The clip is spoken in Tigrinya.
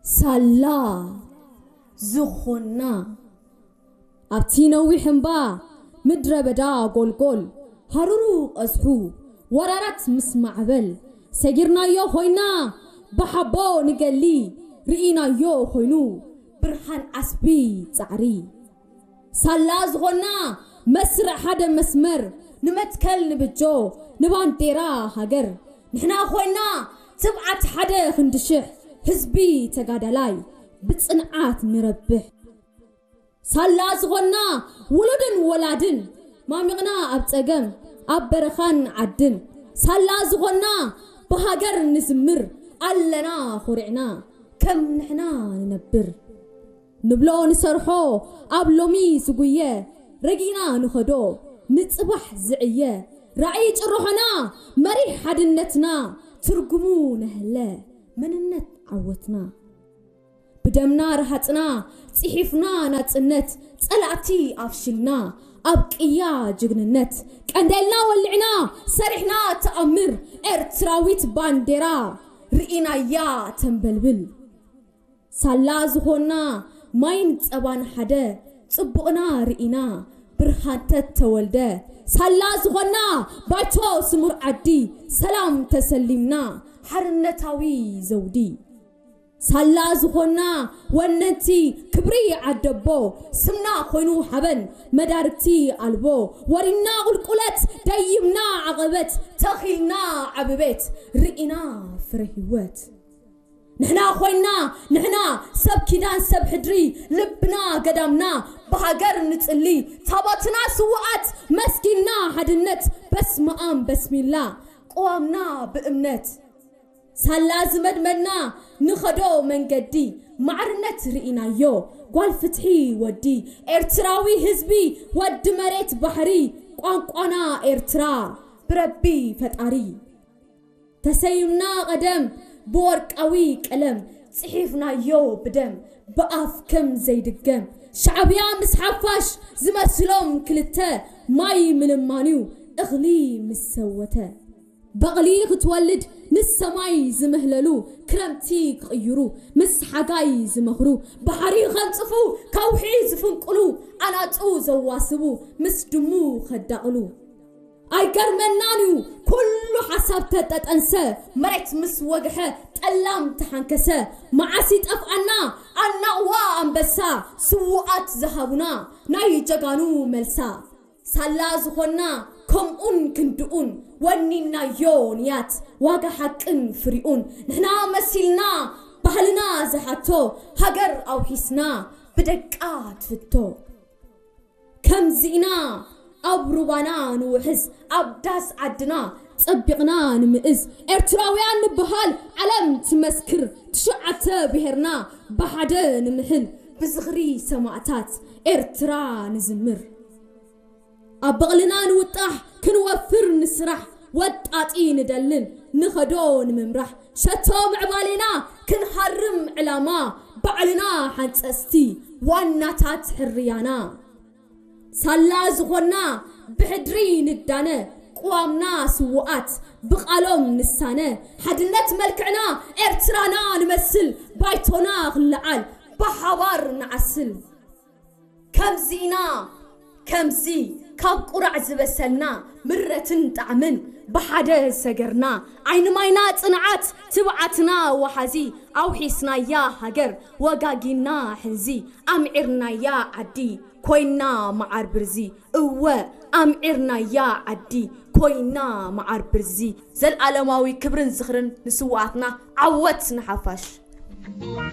ሳላ ዝኾና ኣብቲ ነዊሕ እምባ ምድረ በዳ ጎልጎል ሃሩሩ ቀዝሑ ወራራት ምስ ማዕበል ሰጊርናዮ ኮይና ብሓቦ ንገሊ ርኢናዮ ኮይኑ ብርሃን ዓስቢ ጻዕሪ ሳላ ዝኾና መስርዕ ሓደ መስመር ንመትከል ንብጆ ንባንዴራ ሃገር ንሕና ኮይና ትብዓት ሓደ ክንዲ ሽሕ ህዝቢ ተጋዳላይ ብጽንዓት ንረብሕ ሳላ ዝኾና ውሉድን ወላድን ማሚቕና ኣብ ጸገም ኣብ በረኻን ዓድን ሳላ ዝኾና ብሃገር ንዝምር ኣለና ኾሪዕና ከም ንሕና ንነብር ንብሎ ንሰርሖ ኣብ ሎሚ ዝጉየ ረጊና ንኸዶ ንጽባሕ ዝዕየ ራእይ ጭርሖና መሪሕ ሓድነትና ትርጉሙ ነህለ መንነት ዓወትና ብደምና ረሃጽና ጽሒፍና ናጽነት ጸላእቲ ኣፍሽልና ኣብ ቅያ ጅግንነት ቀንዴልና ወልዕና ሰሪሕና ተኣምር ኤርትራዊት ባንዴራ ርኢናያ ተንበልብል ሳላ ዝኾና ማይን ጸባን ሓደ ጽቡቕና ርኢና ብርሃንተት ተወልደ ሳላ ዝኾና ባይቶ ስሙር ዓዲ ሰላም ተሰሊምና ሓርነታዊ ዘውዲ ሳላ ዝኾና ወነንቲ ክብሪ ዓደቦ ስምና ኮይኑ ሓበን መዳርግቲ ኣልቦ ወሪና ቁልቁለት ደይምና ዓቐበት ተኺልና ዓብቤት ርኢና ፍረ ህይወት ንሕና ኮይና ንሕና ሰብ ኪዳን ሰብ ሕድሪ ልብና ገዳምና ብሃገር ንጽሊ ታቦትና ስውኣት መስጊና ሓድነት በስመኣም በስሚላ ቅዋምና ብእምነት ሳላ ዝመድመድና ንኸዶ መንገዲ ማዕርነት ርኢናዮ ጓል ፍትሒ ወዲ ኤርትራዊ ህዝቢ ወዲ መሬት ባሕሪ ቋንቋና ኤርትራ ብረቢ ፈጣሪ ተሰይምና ቀደም ብወርቃዊ ቀለም ጽሒፍናዮ ብደም ብኣፍ ከም ዘይድገም ሻዕብያ ምስ ሓፋሽ ዝመስሎም ክልተ ማይ ምልማንዩ እኽሊ ምስ ሰወተ በቕሊ ክትወልድ ንሰማይ ዝምህለሉ ክረምቲ ክቕይሩ ምስ ሓጋይ ዝመኽሩ ባሕሪ ከንጽፉ ከውሒ ዝፍንቅሉ ኣናጹ ዘዋስቡ ምስ ድሙ ከዳቕሉ ኣይገርመናን እዩ ኩሉ ሓሳብ ተጠጠንሰ መሬት ምስ ወግሐ ጠላም ተሓንከሰ መዓስ ይጠፍኣና ኣናቕዋ ኣንበሳ ስውኣት ዝሃቡና ናይ ጀጋኑ መልሳ ሳላ ዝኾና ከምኡን ክንድኡን ወኒናዮ ንያት ዋጋ ሓቅን ፍሪኡን ንሕና መሲልና ባህልና ዝሓቶ ሃገር ኣውሒስና ብደቃ ትፍቶ ከምዚና ኣብ ሩባና ንውሕዝ ኣብ ዳስ ዓድና ጸቢቕና ንምእዝ ኤርትራውያን ንበሃል ዓለም ትመስክር ትሽዓተ ብሄርና ብሓደ ንምሕል ብዝኽሪ ሰማእታት ኤርትራ ንዝምር ኣብ በቕልና ንውጣሕ ክንወፍር ንስራሕ ወጣጢ ንደልን ንኸዶ ንምምራሕ ሸቶ ምዕባሌና ክንሃርም ዕላማ ባዕልና ሓንጸስቲ ዋናታት ሕርያና ሳላ ዝኾና ብሕድሪ ንዳነ ቅዋምና ስውኣት ብቓሎም ንሳነ ሓድነት መልክዕና ኤርትራና ንመስል ባይቶና ክለዓል ብሓባር ንዓስል ከምዚና ከምዚ ካብ ቁራዕ ዝበሰልና ምረትን ጣዕምን ብሓደ ሰገርና ዓይኒ ማይና ጽንዓት ትብዓትና ወሓዚ ኣውሒስናያ ሃገር ወጋጊና ሕንዚ ኣምዒርናያ ዓዲ ኮይና መዓር ብርዚ እወ ኣምዒርናያ ዓዲ ኮይና መዓር ብርዚ ዘልኣለማዊ ክብርን ዝኽርን ንስውኣትና ዓወት ንሓፋሽ